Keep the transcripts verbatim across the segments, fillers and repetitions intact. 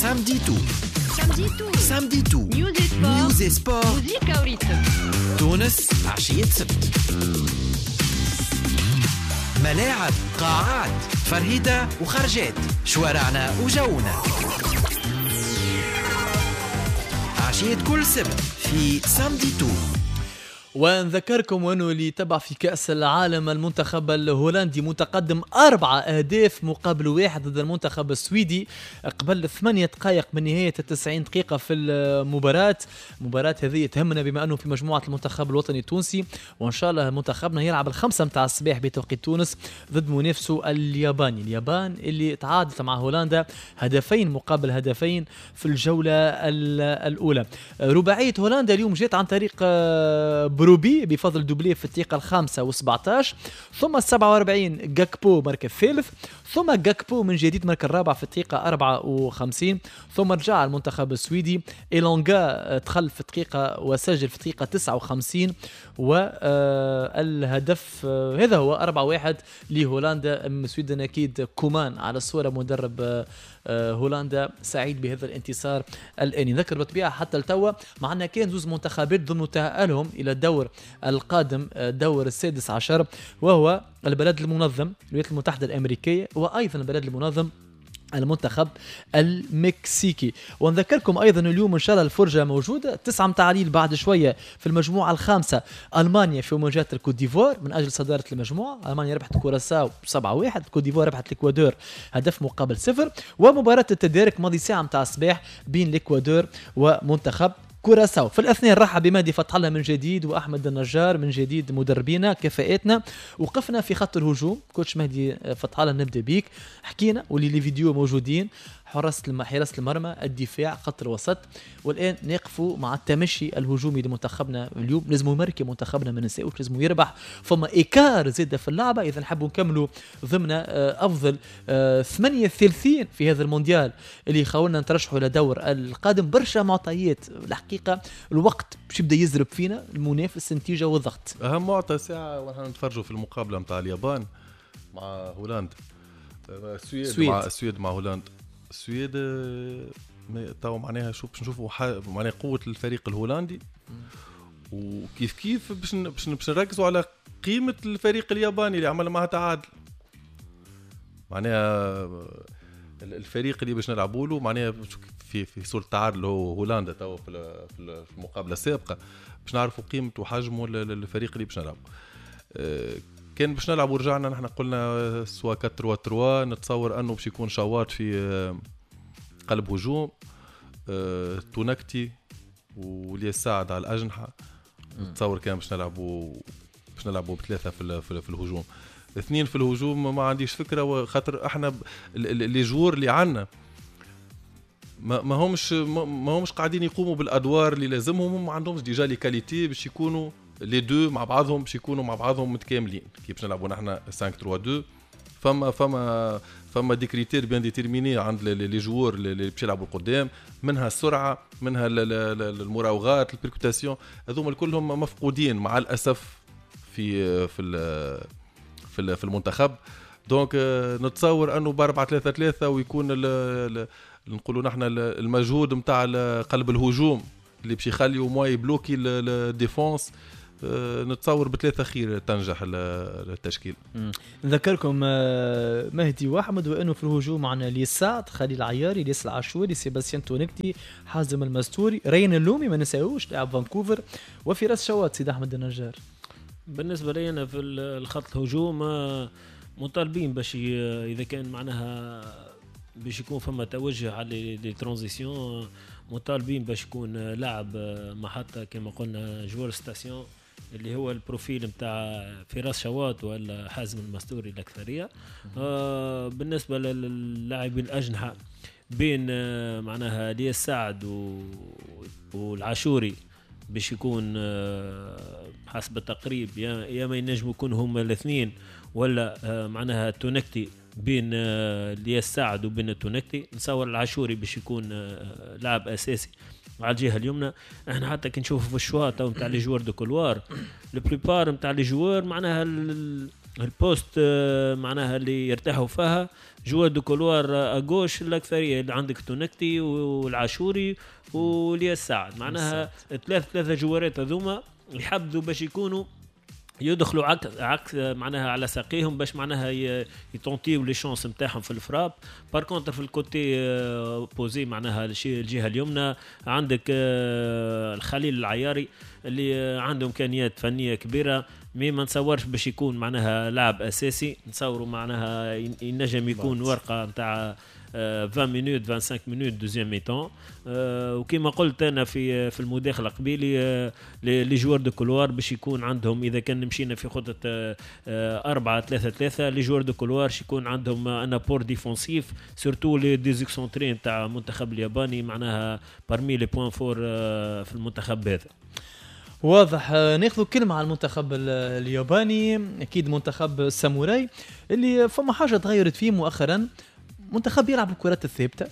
Samedi tout، samedi tout، samedi tout، news sport، تونس عشية سبت، ملاعب، قاعات، فرهدة وخرجات، شوارعنا وجونا. عشية كل سبت في samedi tout. ونذكركم انه اللي تبع في كأس العالم المنتخب الهولندي متقدم أربعة أهداف مقابل واحد ضد المنتخب السويدي قبل ثمانية دقائق من نهاية التسعين دقيقة في المباراة. المباراة هذه تهمنا بما أنه في مجموعة المنتخب الوطني التونسي، وإن شاء الله منتخبنا يلعب الخمسة متاع الصباح بتوقيت تونس ضد منافسه الياباني. اليابان اللي تعادلت مع هولندا هدفين مقابل هدفين في الجولة الأولى. رباعية هولندا اليوم جات عن طريق بروبي بفضل doublé في الدقيقة الخامسة وسبعتاش، ثم السبعة وأربعين جاكبو مركز الثالث، ثم جاكبو من جديد مركز الرابع في الدقيقة أربعة وخمسين، ثم رجع المنتخب السويدي إيلونغا دخل في الدقيقة وسجل في الدقيقة تسعة وخمسين، والهدف هذا هو أربعة واحد لهولندا. السويدن أكيد كومان على الصورة مدرب هولندا سعيد بهذا الانتصار الآني. نذكر بالطبيعة حتى التوا معنا كان زوز منتخبات ضمن تأهلهم إلى الدور القادم، دور السادس عشر، وهو البلد المنظم الولايات المتحدة الأمريكية، وأيضا البلد المنظم المنتخب المكسيكي. ونذكركم ايضا اليوم ان شاء الله الفرجة موجودة تسعة متاع الليل بعد شوية في المجموعة الخامسة، المانيا في مواجهة الكوت ديفوار من اجل صدارة المجموعة. المانيا ربحت كوراساو سبعة واحد، الكوت ديفوار ربحت الاكوادور هدف مقابل صفر، ومباراة التدارك ماضي ساعة متاع الصباح بين الاكوادور ومنتخب كوراساو. في الاثنين رحب بمهدي فتح الله من جديد واحمد النجار من جديد مدربينا كفاءاتنا. وقفنا في خط الهجوم، coach مهدي فتح الله نبدا بيك، حكينا واللي les vidéos موجودين، حراسة حراسة المرمى، الدفاع، خط الوسط، والان نقفوا مع التمشي الهجومي لمنتخبنا اليوم. لازم يمركي منتخبنا ما ننساوش، لازم يربح، فما écart زاده في اللعبة اذا نحبوا نكملوا ضمن افضل ثمانية ثالثين في هذا المونديال اللي خاولنا نترشحوا لدور القادم. برشا معطيات الحقيقة، الوقت باش يبدا يزرب فينا، المنافس، النتيجة والضغط. اهم معطى ساعة ونحن نتفرجوا في المقابلة نتاع اليابان مع هولندا، السويد مع السويد مع هولندا. السويد تو معناها شوف باش نشوفوا معناها قوة الفريق الهولندي، وكيف كيف باش باش نركزوا على قيمة الفريق الياباني اللي عمل معها تعادل. معناها الفريق اللي باش نلعبوا له معناها في في صورة تعادل هو هولندا تو في المقابلة السابقة، باش نعرفوا قيمة وحجمه للفريق اللي باش نلعبوا. كان باش نلعبوا رجعنا نحن قلنا soit أربعة ثلاثة ثلاثة، نتصور انه باش يكون شواط في قلب هجوم، تونكتي وليا سعد على الاجنحة. نتصور كان باش نلعبوا باش نلعبوا بثلاثة في في الهجوم، اثنين في الهجوم ما عنديش فكرة، خاطر احنا les joueurs اللي عندنا ما ما همش ما همش قاعدين يقوموا بالادوار اللي لازمهم، ما عندهمش déjà les qualités باش يكونوا les deux مع بعضهم، باش يكونوا مع بعضهم متكاملين. كي باش نلعبوا نحن خمسة ثلاثة اثنين فما فما فما des critères bien déterminés عند les joueurs اللي باش يلعبوا القدام، منها السرعة، منها المراوغات، ال percussion، هذوما كلهم مفقودين مع الاسف في في في في المنتخب. donc نتصور انه ب أربعة ثلاثة ثلاثة ويكون نقولوا نحن المجهود نتاع قلب الهجوم اللي باش يخلي au moins يبلوكي ال défense، نتصور بثلاثة خير تنجح التشكيل. نذكركم مهدي واحمد وانه في الهجوم معنا ليس سعد، خليل العياري، ليس العاشوري، سيباستيان تونكتي، حازم المستوري، رين اللومي ما نساوش لاعب فانكوفر، وفراس شواط. سيد احمد النجار، بالنسبة لي انا في الخط الهجوم مطالبين باش اذا كان معناها باش يكون فما توجه على les transitions، مطالبين باش يكون لاعب محطة كما قلنا joueur station اللي هو ال profil نتاع فراس شواط ولا حازم المستوري الاكثرية. آه بالنسبة للاعبين الاجنحة بين آه معناها ليس سعد والعاشوري باش يكون آه حسب التقريب يا يا ما ينجموا يكونوا هما الاثنين، ولا آه معناها تونكتي بين آه ليس سعد وبين التونكتي. نصور العاشوري باش يكون آه لاعب اساسي على الجهة اليمنى. احنا حتى كي نشوفوا في ال choix تو نتاع les joueurs de couloir، la plupart نتاع les joueurs معناها ال poste معناها اللي يرتاحوا فيها joueurs de couloir à gauche الاكثرية اللي عندك تونكتي والعاشوري والياس سعد، معناها ثلاث ثلاثة جوارات هذوما يحبذوا باش يكونوا يدخلوا عكس عكس معناها على ساقيهم باش معناها يتونتيو les chances نتاعهم في ال frappe. par contre في ال côté opposé معناها الجهة اليمنى عندك الخليل العياري اللي عنده امكانيات فنية كبيرة، mais ما نتصورش باش يكون معناها لاعب اساسي، نتصوروا معناها ينجم يكون ورقة نتاع عشرين minutes خمسة وعشرين minutes deuxième mi-temps. وكما قلت انا في في المداخلة قبيلي les joueurs de couloir باش يكون عندهم، اذا كان مشينا في خطه أربعة ثلاثة ثلاثة les joueurs de couloir باش يكون عندهم un apport défensif surtout les deux excentrés تاع المنتخب الياباني، معناها parmi les points forts في المنتخب هذا. واضح. ناخذ كلمة على المنتخب الياباني، اكيد منتخب الساموراي اللي فما حاجة تغيرت فيه مؤخرا، منتخب يلعب الكرات الثابتة،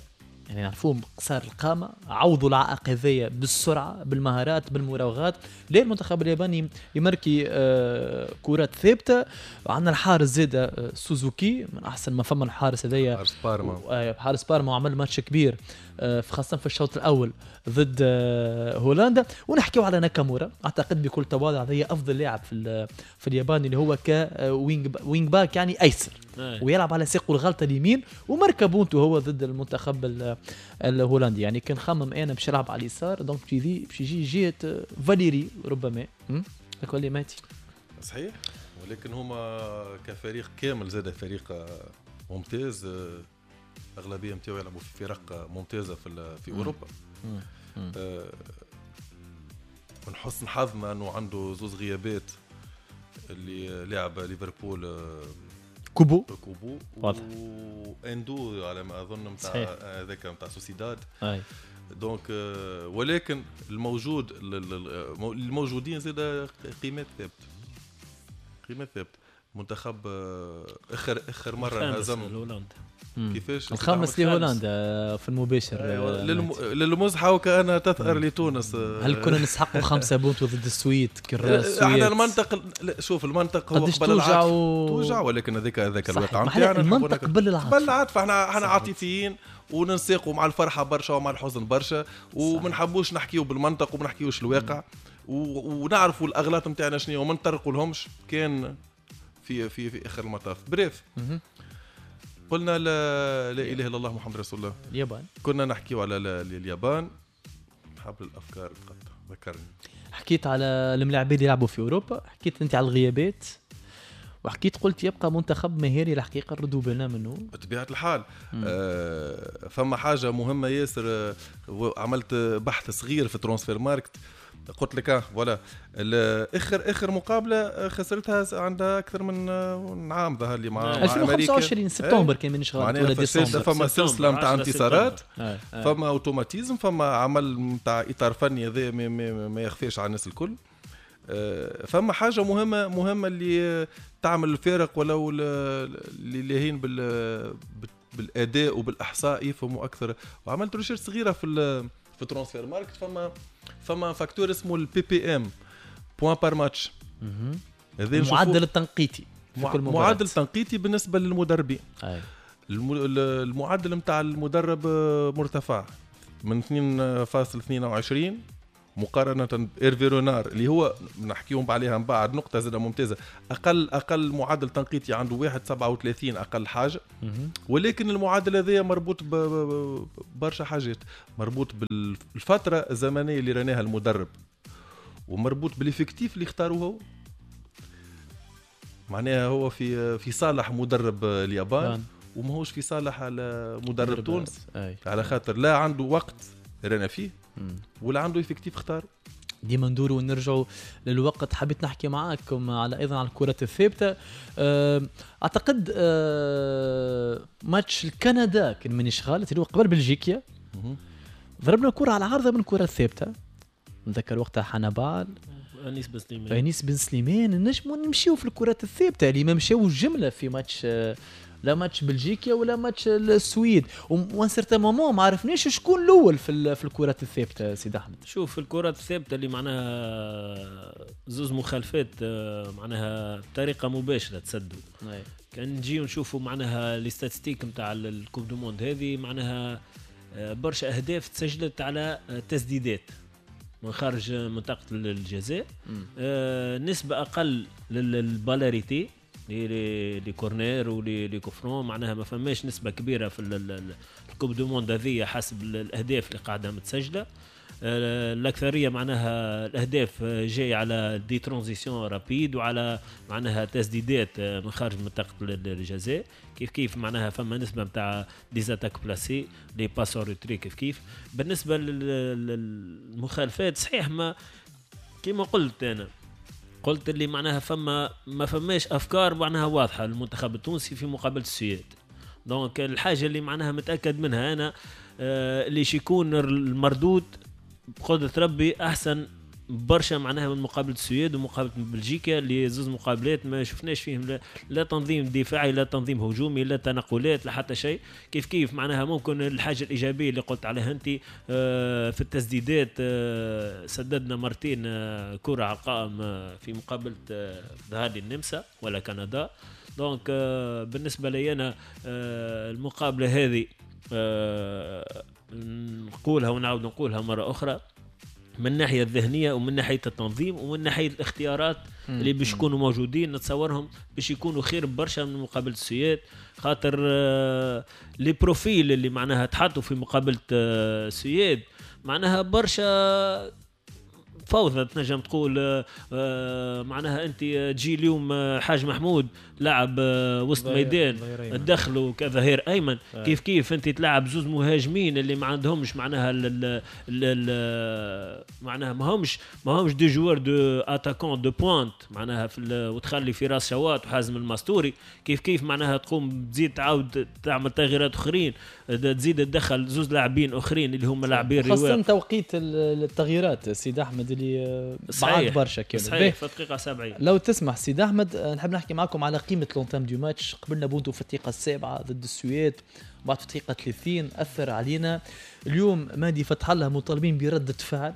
يعني نعرفوهم قصار القامة، عوضوا العائق هذايا بالسرعة بالمهارات بالمراوغات. ليه المنتخب الياباني يمركي آه كرات ثابتة؟ عندنا الحارس زاده سوزوكي من احسن ما فما الحارس هذايا، حارس بارما، حارس بارما وعمل ماتش كبير آه خاصة في الشوط الاول ضد آه هولندا. ونحكيو على ناكامورا، اعتقد بكل تواضع هذايا افضل لاعب في في اليابان اللي هو ك wing wing back يعني ايسر، ويلعب على ساقه الغلطة اليمين، وماركا بونتو هو ضد المنتخب الهولندي. يعني كان خمم انا باش يلعب على اليسار، donc باش يجي باش يجي جهة فاليري ربما لك ماتي. صحيح، ولكن هما كفريق كامل زاد فريق ممتاز، اغلبية نتاعو يلعبوا في فرق ممتازة في في اوروبا. من حسن حظنا انه عنده زوز غيابات اللي لعب ليفربول كوبو كوبو واندو على ما اظن نتاع هذاك نتاع سوسيداد. أي. donc ولكن الموجود الموجودين زاد قيمات ثابتة، قيمات ثابتة. منتخب اخر اخر مرة هزم هولندا، كيفاش الخامس لهولندا في المباشر. أيوة. للم... للمزحه وكانها تثأر لتونس. هل كنا نسحقوا خمسة بونتو ضد السويد؟ السويد احنا المنطق، شوف المنطق هو قبل العاطفة و... توجع، ولكن هذاك هذاك الواقع نتاعنا، المنطق قبل العاطفة، قبل العاطفة. احنا احنا عاطفيين وننساقوا مع الفرحة برشا ومع الحزن برشا، وما نحبوش نحكيو بالمنطق وما نحكيوش الواقع، و... ونعرفوا الاغلاط نتاعنا شنو وما نطرقوا لهمش كان في في في اخر المطاف. bref قلنا لا, لا اله الا الله محمد رسول الله. اليابان كنا نحكيو على اليابان، حبل الافكار تقطع ذكرني. حكيت على الملاعبين اللي يلعبوا في اوروبا، حكيت انت على الغيابات، وحكيت قلت يبقى منتخب مهاري الحقيقة نردوا بالنا منه بطبيعة الحال. آه فما حاجة مهمة ياسر، عملت بحث صغير في Transfermarkt، قلت لك voilà اخر اخر مقابله خسرتها عندها اكثر من عام ظهر لي مع ألفين وخمسة وعشرين سبتمبر كان مانيش غلط ولا ديسمبر. فما سلسلة نتاع انتصارات، فما automatisme، فما عمل نتاع اطار فني هذا ما, ما, ما يخفيش على الناس الكل. فما حاجة مهمة مهمة اللي تعمل الفارق، ولو اللي لاهين بال بالاداء وبالاحصاء يفهموا اكثر. وعملت recherche صغيرة في في Transfermarkt، فما فما facteur اسمه ال PPM، points par match، المعدل التنقيطي في كل مباراة، معدل تنقيطي بالنسبة للمدربين. المعدل نتاع المدرب مرتفع من اثنين فاصل اثنين وعشرين مقارنة بإيرفي رونار اللي هو نحكيهم عليها من بعد، نقطة زادة ممتازة. أقل أقل معدل تنقيطي عنده واحد سبعة وثلاثين أقل حاجة، ولكن المعدل هذا مربوط ببرشا حاجات، مربوط بالفترة الزمنية اللي راناها المدرب، ومربوط بال effectif اللي اختاروه هو. معناها هو في في صالح مدرب اليابان وماهوش في صالح على مدرب تونس، على خاطر لا عنده وقت رانا فيه ولا عنده effectif اختار. ديما ندوروا ونرجعوا للوقت. حبيت نحكي معاكم على ايضا على الكرة الثابتة. اعتقد ماتش الكندا كان مانيش غلط اللي هو قبل بلجيكا، ضربنا كرة على عارضة من الكرة الثابتة، نذكر وقتها حنبال انيس بن سليمان، انيس بن سليمان. نجموا نمشيو في الكرات الثابتة اللي ما مشاوش جملة في ماتش لا ماتش بلجيكا ولا ماتش السويد، و un certain moment ما عرفناش شكون الاول في في الكرات الثابتة. سيد احمد، شوف الكرات الثابتة اللي معناها زوز مخالفات معناها بطريقة مباشرة تسدوا. كان نجيو نشوفوا معناها les statistiques نتاع ال coupe du monde هذه، معناها برشا اهداف تسجلت على تسديدات من خارج منطقة الجزاء، آه نسبه اقل لل balles arrêtées les les corners و les les coups francs، معناها ما فماش نسبه كبيرة في ال coupe du monde هذه حسب الاهداف اللي قاعدة متسجله. آه الاكثرية معناها الاهداف جاي على des transitions rapides وعلى معناها تسديدات من خارج منطقة الجزاء. كيف كيف معناها فما نسبه نتاع des attaques placées، les passes en retrait. كيف كيف بالنسبة للمخالفات، صحيح ما كيما قلت انا قلت اللي معناها فما ما فماش افكار معناها واضحة للمنتخب التونسي في مقابله السويد. donc الحاجة اللي معناها متاكد منها انا آه اللي يكون المردود بقدرة ربي احسن برشا معناها من مقابله السويد ومقابله بلجيكا، اللي زوز مقابلات ما شفناش فيهم لا, لا تنظيم دفاعي لا تنظيم هجومي لا تنقلات لا حتى شيء. كيف كيف معناها ممكن الحاجة الايجابية اللي قلت عليها انت آه في التسديدات، آه سددنا مرتين آه كره على القائم آه في مقابله آه ظهر النمسا ولا كندا. donc آه بالنسبة لي انا آه المقابلة هذه آه نقولها ونعاود نقولها مرة اخرى، من الناحية الذهنية ومن ناحية التنظيم ومن ناحية الاختيارات اللي باش يكونوا موجودين، نتصورهم باش يكونوا خير برشا من مقابله السويد، خاطر آه les profils اللي معناها تحطوا في مقابله آه السويد معناها برشا فوضى تنجم تقول. آه معناها انت تجي اليوم حاج محمود لعب وسط ميدان تدخلوا كظهير ايمن، كيف كيف انت تلعب زوز مهاجمين اللي ما عندهمش معناها ال ال معناها ما همش ما همش des joueurs de attaquants de pointe معناها في، وتخلي فراس شواط وحازم المستوري. كيف كيف معناها تقوم تزيد تعاود تعمل تغييرات اخرين، تزيد تدخل زوز لاعبين اخرين اللي هم لاعبين رواق، خاصة توقيت التغييرات سيد احمد اللي بعد برشا كانوا صحيح في الدقيقة سبعين. لو تسمح سيد احمد نحب نحكي معكم على قيمة l'entame du match. قبلنا بونتو في الدقيقة السابعة ضد السويد، بعد في الدقيقة ثلاثين اثر علينا. اليوم مهدي فتح الله مطالبين برده فعل،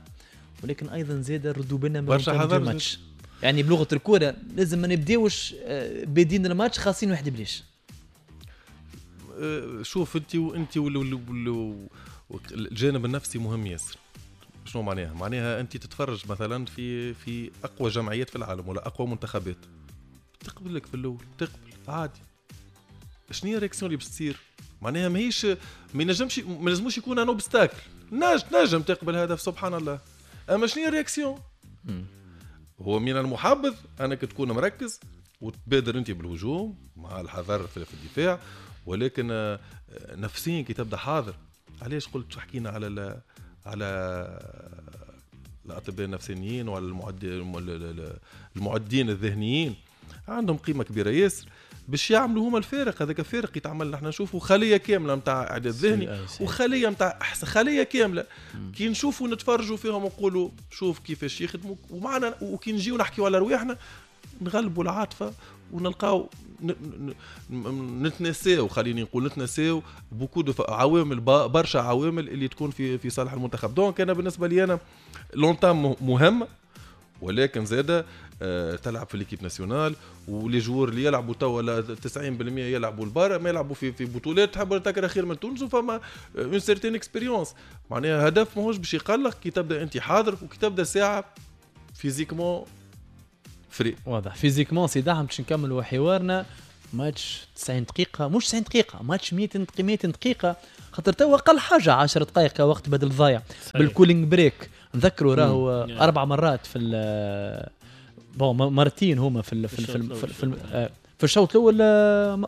ولكن ايضا زاد ردوا بنا من l'entame du match. يعني بلغه الكورة لازم ما نبداوش بادين الماتش خاصين واحد بليش. شوف انت وانت الجانب النفسي مهم ياسر. شنو معناها؟ معناها انت تتفرج مثلا في في اقوى جمعيات في العالم ولا اقوى منتخبات، تقبل لك في الاول تقبل عادي. شنو هي ال réaction اللي باش تصير؟ معناها ماهيش ما ينجمش ما لازموش يكون un obstacle. نجم نجم تقبل هدف سبحان الله، اما شنو هي ال réaction؟ هو من المحبذ انك تكون مركز وتبادر انت بالهجوم مع الحذر في الدفاع، ولكن نفسيا كي تبدا حاضر. علاش قلت حكينا على على الاطباء النفسيين وعلى المعد المعدين الذهنيين، عندهم قيمة كبيرة ياسر باش يعملوا هما الفارق. هذاك فارق يتعمل، نحن نشوفوا خليه كاملة نتاع اعداد ذهني وخليه نتاع خليه كاملة. كي نشوفوا نتفرجوا فيهم ونقولوا شوف كيفاش يخدموا ومعنا، وكي نجيو نحكيوا على رواحنا نغلبوا العاطفة ونلقاو نتنساو، خليني نقول نتنساو beaucoup عوامل، برشا عوامل اللي تكون في في صالح المنتخب. donc انا بالنسبة لي انا l'entame مهم، ولكن زاده تلعب في l'équipe nationale و les joueurs اللي يلعبوا توا تسعين بالمية يلعبوا البارا، ما يلعبوا في في بطولات تحب تكره خير من تونس، وفما une certaine expérience. معناها هدف ماهوش باش يقلق كي تبدا انت حاضر وكي تبدا ساعة physiquement frais. واضح physiquement سي دعم باش نكملوا حوارنا. ماتش تسعين دقيقة، مش تسعين دقيقة، ماتش مية دقيقة، خاطر توا أقل حاجة عشر دقائق وقت بدل ضايع بال cooling break. نذكروا راهو أربع مرات في bon مرتين هما في ال في ال في, في, في, في الشوط الأول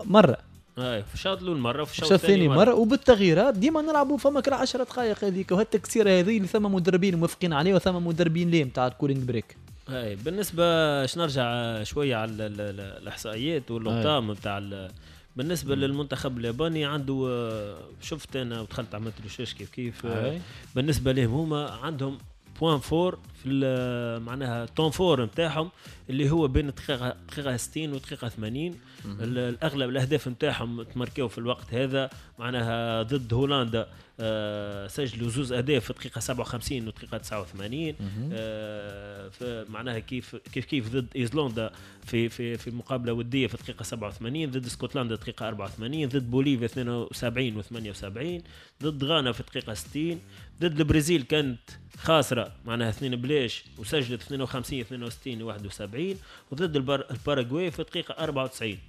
مرة، اي في الشوط الأول مرة وفي الشوط الثاني مرة, مرة وبالتغييرات ديما نلعبوا فما كل عشر دقائق هذيك، وهالتكسيرة هذه اللي ثم مدربين موافقين عليه وثم مدربين ليه نتاع ال cooling break. اي بالنسبة باش نرجع شوية على الاحصائيات والارقام نتاع بالنسبة للمنتخب الياباني عنده، شفت انا ودخلت عملت recherche كيف كيف. أي. بالنسبة لهم هما عندهم point fort في معناها temps fort نتاعهم اللي هو بين دقيقة دقيقة ستين ودقيقة ثمانين. الاغلب الاهداف نتاعهم تماركيو في الوقت هذا، معناها ضد هولندا آه سجلوا زوز اهداف في دقيقة سبعة وخمسين ودقيقة تسعة وثمانين. آه معناها كيف كيف كيف ضد ايزلندا في في في مقابله وديه في دقيقة سبعة وثمانين، ضد اسكتلندا دقيقة أربعة وثمانين، ضد بوليفيا اثنين وسبعين وثمانية وسبعين، ضد غانا في دقيقة ستين، ضد البرازيل كانت خاسرة معناها اثنين بلاش وسجلت اثنين وخمسين اثنين وستين واحد وسبعين، وضد الباراغواي في دقيقة أربعة وتسعين.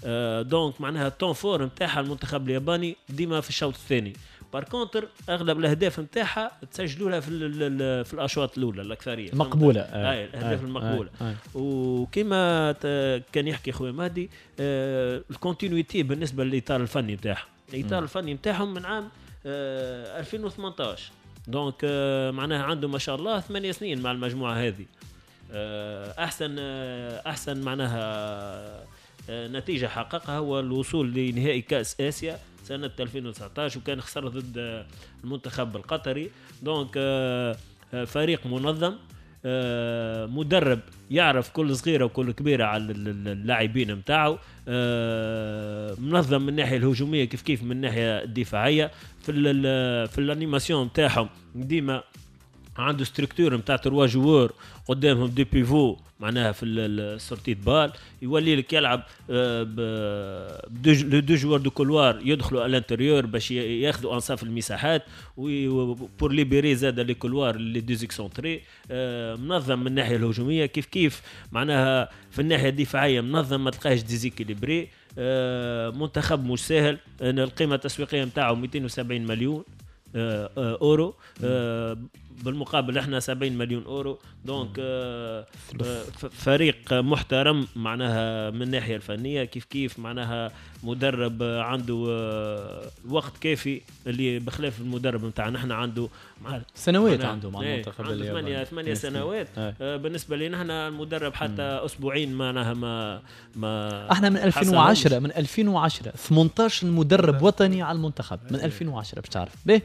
آه donc معناها ال temps fort نتاعها المنتخب الياباني ديما في الشوط الثاني. par contre اغلب الاهداف نتاعها تسجلوا لها في في الاشواط الاولى الاكثرية مقبولة. آه. الاهداف آه. المقبولة. آه. آه. وكما كان يحكي خويا مهدي آه ال continuité بالنسبة للاطار الفني نتاعها، الاطار الفني نتاعهم من عام آه ألفين وثمانطاش، donc آه معناها عنده ما شاء الله ثمانية سنين مع المجموعة هذه. آه احسن آه احسن معناها آه نتيجة حققها هو الوصول لنهائي كاس اسيا سنة ألفين وتسعطاش، وكان خسر ضد المنتخب القطري. donc فريق منظم، مدرب يعرف كل صغيرة وكل كبيرة على اللاعبين نتاعو، منظم من الناحية الهجومية كيف كيف من الناحية الدفاعية. في ال في ال animation نتاعهم ديما عنده structure نتاع trois joueurs قدامهم deux pivots معناها في ال sortie de balle، يولي لك يلعب les deux joueurs de couloir يدخلوا à l'intérieur باش ياخذوا انصاف المساحات pour libérer زاد les couloirs les deux excentrés. منظم من الناحية الهجومية كيف كيف معناها في الناحية الدفاعية منظم، ما تلقاهش déséquilibré. منتخب مش ساهل، القيمة التسويقية نتاعو مئتين وسبعين مليون اورو، بالمقابل احنا سبعين مليون اورو. donc فريق محترم معناها من الناحية الفنية كيف كيف معناها مدرب عنده وقت كافي اللي بخلاف المدرب نتاعنا احنا عنده مع سنوات عنده مع المنتخب الياباني ثمانية ثمانية سنوات. آه بالنسبة لنا احنا المدرب حتى مم. اسبوعين معناها ما ما احنا من ألفين وعشرة من ألفين وعشرة ثمنطاش مدرب وطني على المنتخب من ألفين وعشرة باش تعرف به.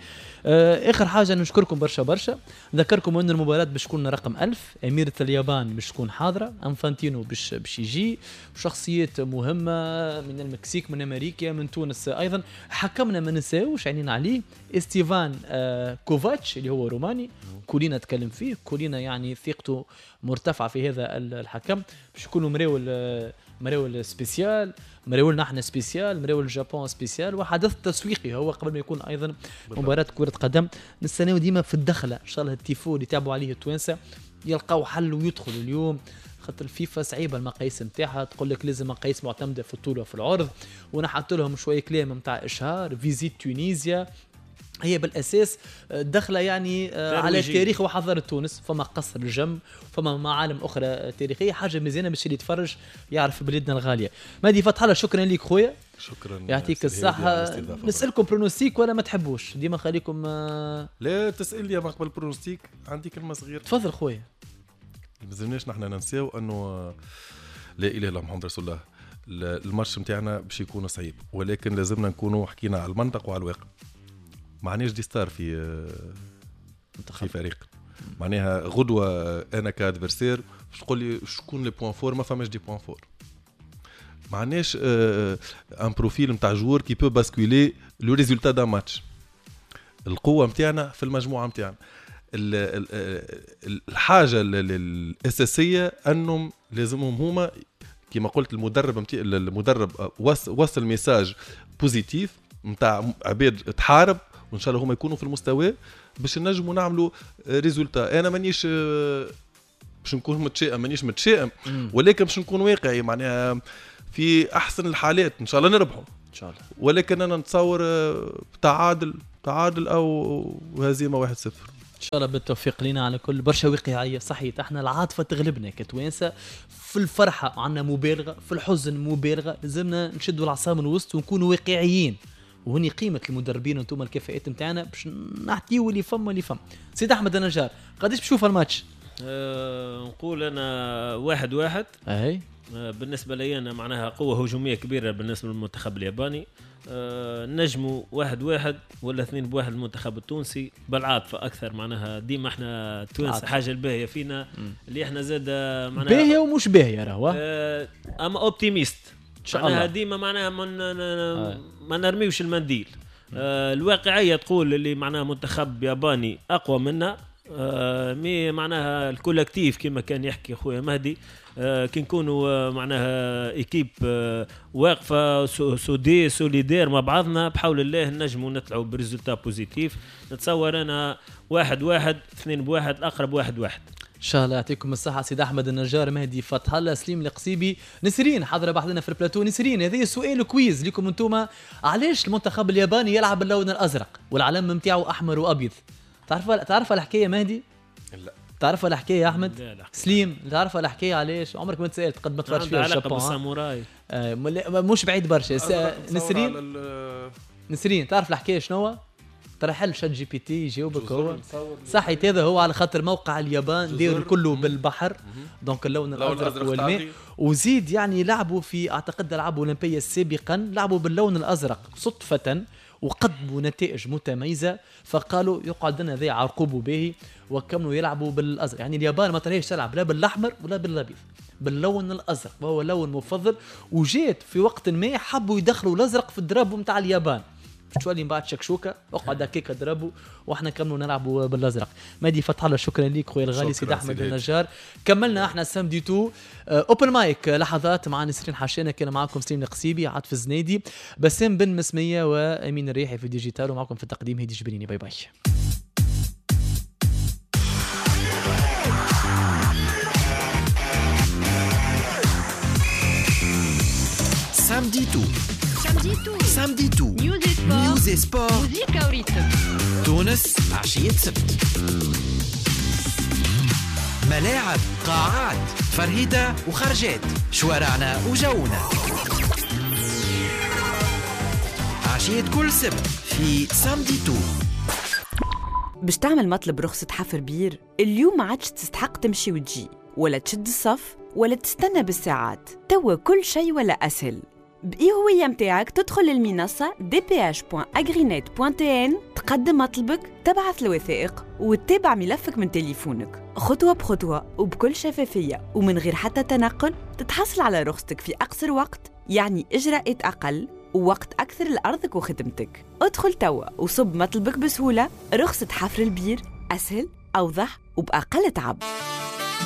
آه اخر حاجة نشكركم برشا برشا، نذكركم ان المباراة باش تكون رقم ألف، أميرة اليابان باش تكون حاضرة، أنفانتينو باش باش يجي، شخصيات مهمة من المكسيك من أمريكا من تونس أيضا. حكمنا ما ننساوش عينينا عليه استيفان آه كوفاتش اللي هو روماني، كولينا تكلم فيه، كولينا يعني ثقته مرتفعة في هذا الحكم. باش يكونوا مراول مراول spécial، مراول نحن spécial، مراول الجابون spécial، وحدث تسويقي هو قبل ما يكون ايضا مباراة كرة قدم. نستناو ديما في الدخلة ان شاء الله التيفو اللي تعبوا عليه التوانسة يلقاو حل ويدخلوا اليوم، خاطر الفيفا صعيبة المقاييس نتاعها، تقول لك لازم مقاييس معتمدة في الطول وفي العرض، ونحط لهم شوية كلام نتاع اشهار Visit Tunisia هي بالاساس دخله يعني على تاريخ وحضارة تونس، فما قصر الجم، فما معالم اخرى تاريخية، حاجة مزيانه باش اللي يتفرج يعرف بلادنا الغالية. مهدي فتح الله، شكرا لك خويا. شكرا، يعطيك الصحة. نسالكم pronostic ولا ما تحبوش؟ ديما خليكم. لا تسال لي ما قبل pronostic، عندي كلمة صغيرة. تفضل خويا. ما لازمناش نحن ننساو انه لا اله الا محمد رسول الله، الماتش نتاعنا باش يكون صعيب، ولكن لازمنا نكونوا حكينا على المنطق وعلى الواقع. معناش des stars في في فريق، معناها غدوه انا ك adversaire باش تقول لي شكون les points forts، ما فماش des points forts، معناش un profil نتاع joueur qui peut basculer le résultat d'un match. القوة نتاعنا في المجموعة نتاعنا. الحاجة الاساسية انهم لازمهم هما كما قلت المدرب متي... المدرب وصل message positif نتاع عباد تحارب، وان شاء الله هما يكونوا في المستوى باش نجموا نعملوا résultat. انا مانيش باش نكون متشائم، مانيش متشائم، ولكن باش نكون واقعي، معناها في احسن الحالات ان شاء الله نربحوا ان شاء الله، ولكن انا نتصور تعادل تعادل او هزيمة واحد صفر ان شاء الله. بالتوفيق لنا على كل. برشا واقعية صحيح، احنا العاطفة تغلبنا كتوانسه، في الفرحة عندنا مبالغه، في الحزن مبالغه، لازمنا نشدوا العصا من الوسط ونكونوا واقعيين، وهني قيمة المدربين وانتم الكفاءات نتاعنا باش نعطيو اللي فما اللي فما. سيد احمد النجار، قداش بتشوف الماتش؟ أه نقول انا واحد واحد. اي بالنسبة لي انا معناها قوة هجومية كبيرة بالنسبة للمنتخب الياباني. أه نجموا واحد واحد ولا اثنين بواحد المنتخب التونسي بالعاطفه اكثر، معناها ديما احنا التوانسة حاجة الباهيه فينا اللي احنا زاد معناها باهيه ومش باهيه راهو أه اما optimiste ان شاء الله ديما معناها من آه. ما نرميوش المنديل. آه الواقعية تقول اللي معناها منتخب ياباني اقوى منا، آه mais معناها ال collectif كما كان يحكي خويا مهدي، آه كي نكونوا معناها équipe آه واقفة soudée solidaire مع بعضنا بحول الله نجموا نطلعوا ب résultat positif. نتصور انا واحد واحد اثنين بواحد الاقرب واحد واحد ان شاء الله. يعطيكم الصحة سيد احمد النجار، مهدي فتح الله، سليم القصيبي، نسرين حاضره بحذنا في البلاتو. نسرين هذا سؤال quiz لكم انتم، علاش المنتخب الياباني يلعب باللون الازرق والعلم نتاعو احمر وابيض؟ تعرف تعرف الحكاية مهدي؟ لا. تعرف الحكاية يا احمد؟ لا لا. سليم تعرف الحكاية علاش؟ عمرك ما تسالت قد ما تفرجت فيها ال Japon. بالساموراي آه مش بعيد برشا. نسرين نسرين تعرف الحكاية شنو؟ ترى حل ChatGPT يجاوبك هو صحيت. هذا هو على خاطر موقع اليابان دير كله بالبحر، donc اللون الازرق والماء، وزيد يعني لعبوا في اعتقد العاب اولمبيه سابقا لعبوا باللون الازرق صدفة وقدموا نتائج متميزة، فقالوا يقعد لنا ذي عرقوب به وكملوا يلعبوا بالازرق. يعني اليابان ما تريش تلعب لا بالاحمر ولا بالابيض، باللون الازرق وهو لون مفضل. وجات في وقت ما حبوا يدخلوا الازرق في ال drapeau نتاع اليابان، تولي من بعد شكشوكه اقعد هكاك ضربوا واحنا كملوا نلعبوا بالازرق. مهدي فتح الله شكرا ليك خويا الغالي سيد احمد النجار. كملنا احنا samedi tout open mic لحظات مع نسرين حشانه، كان معاكم سليم القصيبي، عاطف الزنيدي، بسام بن مسميه، وامين الريحي في ال digital، ومعكم في التقديم هيدي جبريني. bye bye. samedi tout samedi tout news et sport تونس عشية سبت، ملاعب، قاعات، فرهدة وخرجات، شوارعنا وجونا، عشية كل سبت في samedi tout. باش تعمل مطلب رخصة حفر بير اليوم ما عادش تستحق تمشي وتجي ولا تشد الصف ولا تستنى بالساعات، توا كل شيء ولا أسهل. بإي هوية متاعك تدخل للمنصة دي بي إتش دوت أجرينيت دوت تي إن، تقدم مطلبك، تبعث الوثائق وتتابع ملفك من تليفونك خطوة بخطوة وبكل شفافية ومن غير حتى تنقل. تتحصل على رخصتك في أقصر وقت، يعني إجراءات أقل ووقت أكثر لأرضك وخدمتك. ادخل توا وصب مطلبك بسهولة. رخصة حفر البير أسهل، أوضح وبأقل تعب.